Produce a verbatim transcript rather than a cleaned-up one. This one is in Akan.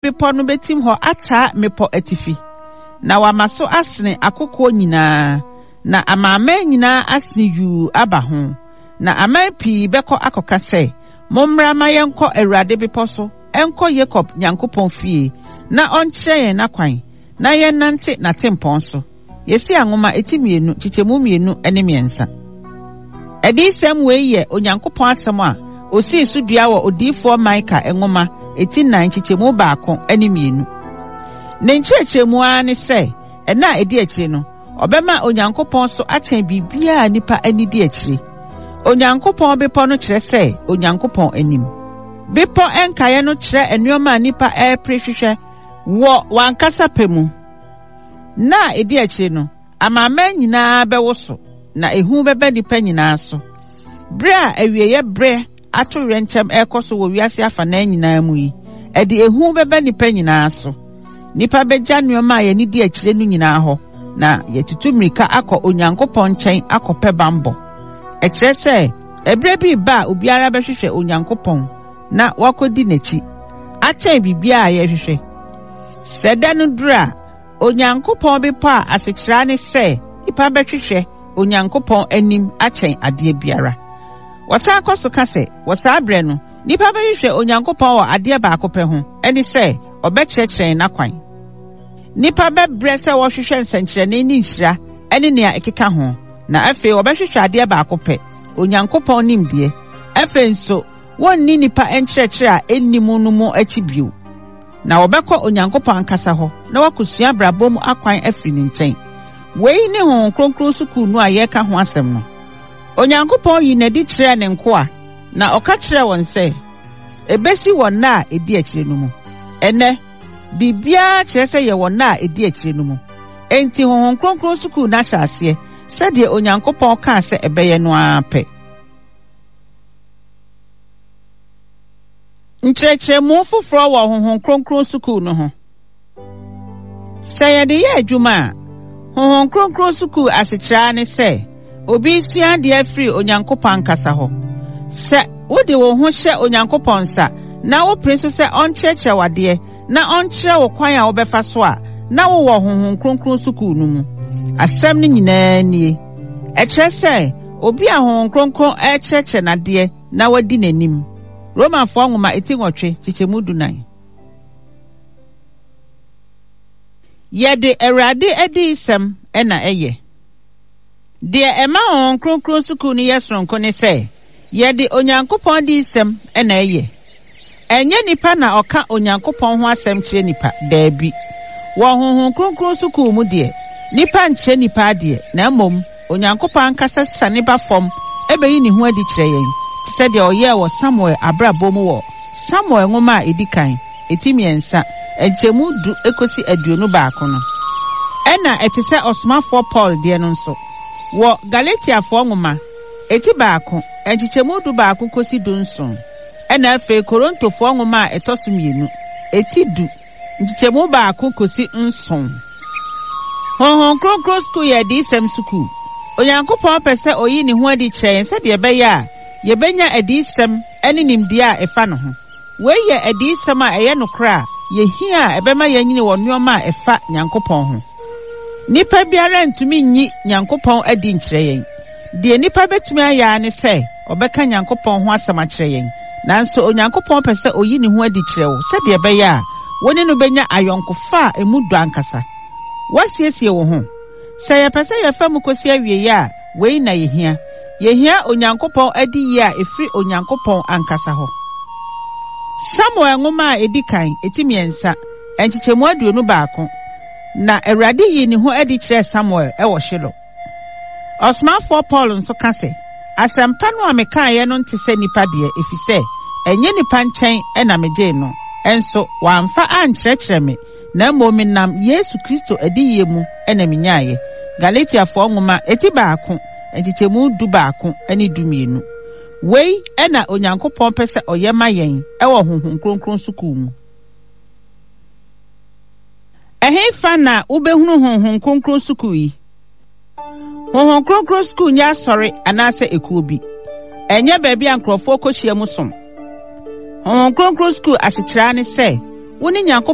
bepɔ no bɛtim hɔ ataa mmepɔ atifi, na wama so asene akokoɔ nyinaa, na amanaman nyinaa asene yuu aba ho. Na aman pii bɛkɔ akɔka sɛ, Mommra ma yɛnkɔ Awurade bepɔ so, nkɔ Yakob Nyankopɔn fie, na ɔnkyerɛ yɛn n'akwan, na yɛnnante n'atempɔn so. Yesaia nwoma eti mmienu, nkyekyɛmu mmienu ne mmiɛnsa. Adiyisɛm wei yɛ Onyankopɔn asɛm a osii so dua wɔ odiyifoɔ Mika nwoma eti nnan nkyekyɛmu baako ne mmienu. Ne nkyerɛkyerɛmu ara ne sɛ, ɛna a edi akyire no, ɔbɛma Onyankopɔn so akyɛn biribiara a nnipa ani di akyire. Onyankopɔn bepɔ no kyerɛ sɛ Onyankopɔn anim. Bepɔ nkaeɛ no kyerɛ nneɛma a nnipa repere hwehwɛ wɔ wɔn ankasa pɛ mu. Na a edi akyire no, amanaman nyinaa bɛwoso, na ehu bɛba nnipa nyinaa so. Bere a awieeɛ berɛ ato wɛnkyɛm ɛrekɔ so wɔ wiase afanan nyinaa mu yi, ɛde ehu bɛba nnipa nyinaa so. Nnipa bɛgya nneɛma a yɛn di akyire no nyinaa hɔ, na yɛtutu mmirika akɔ Onyankopɔn nkyɛn akɔpɛ bammɔ. Ɛkyerɛ sɛ, ɛberɛ bi reba a obiara bɛhwehwɛ Onyankopɔn na wakɔdi n'akyi, akyɛn biribiara a yɛrehwehwɛ. Sɛ da no duru a, Onyankopɔn bepɔ a asekyerɛ ne sɛ nnipa bɛhwehwɛ Onyankopɔn anim akyɛn adeɛ biara. Wɔsan kɔ so ka sɛ, wɔ saa berɛ no, nnipa bɛhwehwɛ Onyankopɔn wɔ adeɛ baako pɛ ho, ɛne sɛ ɔbɛkyerɛkyerɛ yɛn n'akwan. Nnipa bɛbrɛ sɛ wɔhwehwɛ nsɛnkyerɛnne ne nhyira ne nea ɛkeka ho, na afei wɔbɛhwehwɛ adeɛ baako pɛ, Onyankopɔn nimdeɛ. Afei nso, wɔnni nnipa nkyerɛkyerɛ a ɛnni mu no mu akyi bio. Na wɔbɛkɔ Onyankopɔn ankasa hɔ na wɔakɔsua abrabɔ mu akwan afiri ne nkyɛn. Wei ne Honhom Kronkron sukuu no a yɛreka ho asɛm no. Onyankopɔn yi n'adi kyerɛɛ ne nkoa, na ɔka kyerɛɛ wɔn sɛ, ebesi wɔ nna a edi akyire no mu. Ɛnnɛ, biribiara kyerɛ sɛ yɛwɔ nna a edi akyire no mu. Enti Honhom Kronkron sukuu no ahyɛ aseɛ sɛdeɛ Onyankopɔn kaa sɛ ɛbɛyɛ no ara pɛ. Nkyerɛkyerɛmu foforɔ wɔ Honhom Kronkron sukuu no ho. Sɛ yɛde yɛ adwuma a, Honhom Kronkron sukuu asekyerɛ ne sɛ obi sua adeɛ afiri Onyankopɔn ankasa hɔ. Sɛ wode wo ho hyɛ Onyankopɔn nsa na wopere so sɛ ɔnkyerɛkyerɛ wo adeɛ na ɔnkyerɛ wo kwan a wobɛfa so a, na wowɔ Honhom Kronkron sukuu no mu. Asɛm no nyinaa nie. Ɛkyerɛ sɛ obi a Honhom Kronkron ɛrekyerɛkyerɛ n'adeɛ na wadi n'anim. Romafoɔ nwoma eti nwɔtwe kyekyɛmu dunan. Yɛde Awurade adiyisɛm na ɛyɛ. Deɛ ɛma Honhom Kronkron sukuu no yɛ soronko ne sɛ, yɛde Onyankopɔn adiyisɛm na ɛyɛ. Ɛnyɛ nipa na ɔka Onyankopɔn ho asɛm kyerɛ nipa, daabi. Wɔ Honhom Kronkron sukuu mu deɛ, nipa nkyerɛ nipa adeɛ, na mmom Onyankopɔn ankasa siane ba fam ɛbɛyi ne ho adi kyerɛ yɛn, te sɛ deɛ ɔyɛɛ wɔ Samuel abrabɔ mu wɔ Samuel nwoma a edi kan, eti mmiɛnsa, nkyɛmu du ekosi aduonu baako no. Ɛna ɛte sɛ ɔsomafoɔ Paul deɛ no nso. Wɔ Galatiafoɔ nwoma, eti baako, nkyekyɛmu du baako kosi du nson. Ɛna afei Korintofoɔ nwoma a ɛtɔ so mmienu, eti du, nkyekyɛmu baako kosi nson. Honhom Kronkron sukuu yɛ adiyisɛm sukuu. Onyankopɔn pɛ sɛ oyi ne ho adi kyerɛ yɛn sɛdeɛ ɛbɛyɛ a yɛbɛnya adiyisɛm ne nimdeɛ a ɛfa ne ho. Wei yɛ adiyisɛm a ɛyɛ nokorɛ a yɛhia a ɛbɛma yɛanyini wɔ nneɛma a ɛfa Nyankopɔn ho. Nipa biara ntumi nyi Nyankopɔn adi nkyerɛ yɛn. Deɛ nipa bɛtumi ayɛ ara ne sɛ ɔbɛka Nyankopɔn ho asɛm akyerɛ yɛn. Nanso Onyankopɔn pɛ sɛ oyi ne ho adi kyerɛ wo sɛdeɛ ɛbɛyɛ a wo ne no bɛnya ayɔnkofa a emu dɔ ankasa. Woasiesie wo ho. Sɛ yɛpɛ sɛ yɛfa mu kɔsi awieeɛ a, wei na yɛhia. Yɛhia Onyankopɔn adiyie a ɛfiri Onyankopɔn ankasa hɔ. Samuel nwoma a edi kan, eti mmiɛnsa, nkyekyɛmu aduonu baako, na Awurade yii ne ho adi kyerɛɛ Samuel ɛwɔ Shilo. Ɔsomafoɔ Paul nso ka sɛ, asɛmpa no a mekaeɛ no nte sɛ nipa deɛ, ɛfiri sɛ ɛnyɛ nipa nkyɛn ɛna megyee no, ɛnso wɔamfa ankyerɛkyerɛ me, na mmom menam Yesu Kristo adiyie mu ɛna menyaeɛ. Galatiafoɔ nwoma eti baako, nkyekyɛmu du baako ne du mmienu. Wei ɛna Onyankopɔn pɛ sɛ ɔyɛ ma yɛn ɛwɔ Honhom Kronkron sukuu mu. Ɛhefa na wobɛhunu Honhom Kronkron sukuu yi? Honhom Kronkron sukuu nyɛ asɔre anaasɛ ekuo bi. Ɛnyɛ baabi a nkurɔfoɔ kɔhyia mu som. Honhom Kronkron sukuu asekyerɛ ne sɛ, wo ne Nyankopɔn